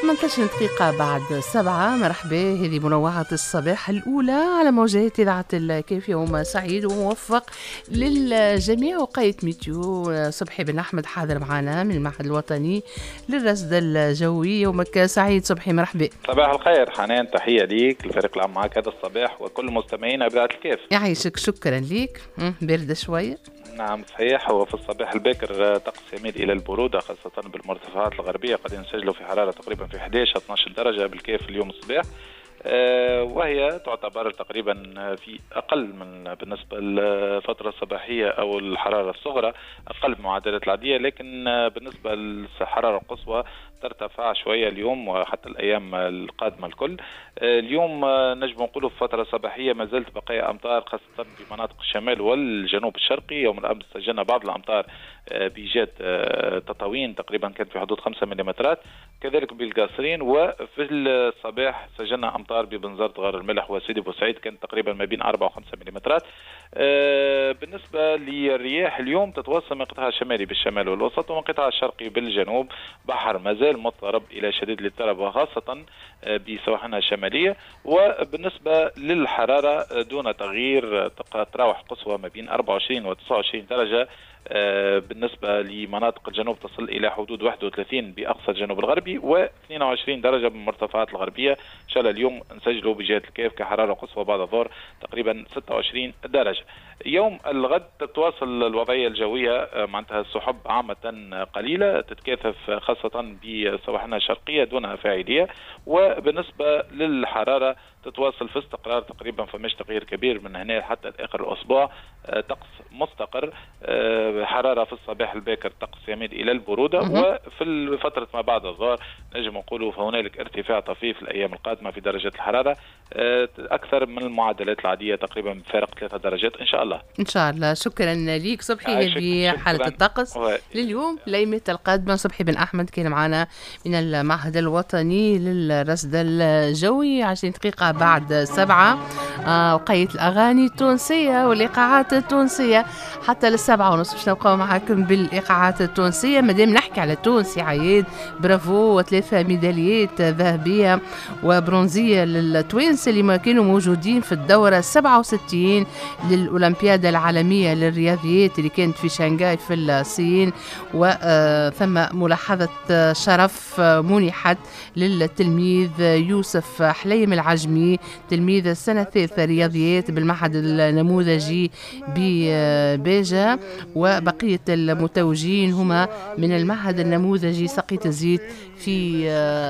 18 دقيقة بعد 7. مرحبا، هذه منوعة الصباح الأولى على موجات إذاعة الكاف. يوم سعيد وموفق للجميع. وقاية météo صبحي بن أحمد حاضر معنا من المعهد الوطني للرصد الجوي. يومك سعيد صبحي، مرحبا. صباح الخير حنان، تحية ليك الفريق العام معك هذا الصباح وكل مستمعين إذاعة الكاف. يعيشك، شكرا ليك. باردة شوية. نعم صحيح، هو في الصباح الباكر طقس يميل إلى البرودة خاصة بالمرتفعات الغربية، قد نسجلوا في حرارة تقريبا في 11-12 درجة بالكاف اليوم الصباح، وهي تعتبر تقريبا في أقل من بالنسبة للفترة الصباحية أو الحرارة الصغرى أقل من المعدلات العادية، لكن بالنسبة للحرارة القصوى ترتفع شوية اليوم وحتى الأيام القادمة الكل. اليوم نجم نقولوا في الفترة الصباحية ما زالت بقايا أمطار خاصة في مناطق الشمال والجنوب الشرقي. يوم الأمس سجلنا بعض الأمطار بجات تطاوين تقريبا كانت في حدود 5 ملم، كذلك بالقاصرين، وفي الصباح سجلنا أمطار ببنزرت غار الملح وسيدي بوسعيد كانت تقريبا ما بين 4 و5 ملم. بالنسبة للرياح اليوم تتواصل من قطاع الشمالي بالشمال والوسط ومن قطاع الشرقي بالجنوب، بحر ما زال مضطرب إلى شديد الاضطراب وخاصة بسواحلنا الشمالية. وبالنسبة للحرارة دون تغيير، تراوح قصوى ما بين 24 و 29 درجة. بالنسبة لمناطق الجنوب تصل إلى حدود 31 بأقصى الجنوب الغربي و22 درجة بالمرتفعات الغربية. إن شاء الله اليوم نسجلوا بجهة الكاف كحرارة قصوى بعد الظهر تقريبا 26 درجة. يوم الغد تتواصل الوضعية الجوية، معناتها السحب عامة قليلة تتكاثف خاصة بسواحلنا الشرقية دون فاعلية. وبالنسبة للحرارة تتواصل في استقرار تقريبا، فمش تغيير كبير من هنا حتى آخر الأسبوع. طقس مستقر، حرارة في الصباح الباكر طقس يميل إلى البرودة، وفي فترة ما بعد الظهر نجم نقولوا فهنالك ارتفاع طفيف الأيام القادمة في درجة الحرارة أكثر من المعدلات العادية تقريبا بفارق 3 درجات إن شاء الله. إن شاء الله. شكرا ليك صبحي. هذه حالة الطقس لليوم ليلة القادمة. صبحي بن أحمد كان معنا من المعهد الوطني للرصد الجوي. 20 دقيقة بعد 7. وقيت الأغاني التونسية والإيقاعات التونسية حتى 7:30 باش نبقاو معاكم بالإيقاعات التونسية. مادام نحكي على تونس عياد، برافو، 3 ميداليات ذهبية وبرونزية للتوانسة اللي ما كانوا موجودين في الدورة 67 للأولمبياد العالمية للرياضيات اللي كانت في شنغهاي في الصين. وثم ملاحظة شرف منحت للتلميذ يوسف حليم العجمي، تلميذ السنة الثالثة رياضيات بالمعهد النموذجي بباجة، وبقية المتوجين هما من المعهد النموذجي سقية الزيت في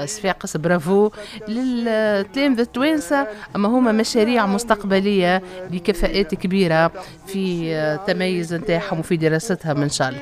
صفاقس. برافو للتلامذة التوانسة، أما هما مشاريع مستقبلية لكفاءات كبيرة في تميز نتاعهم وفي دراستهم إن شاء الله.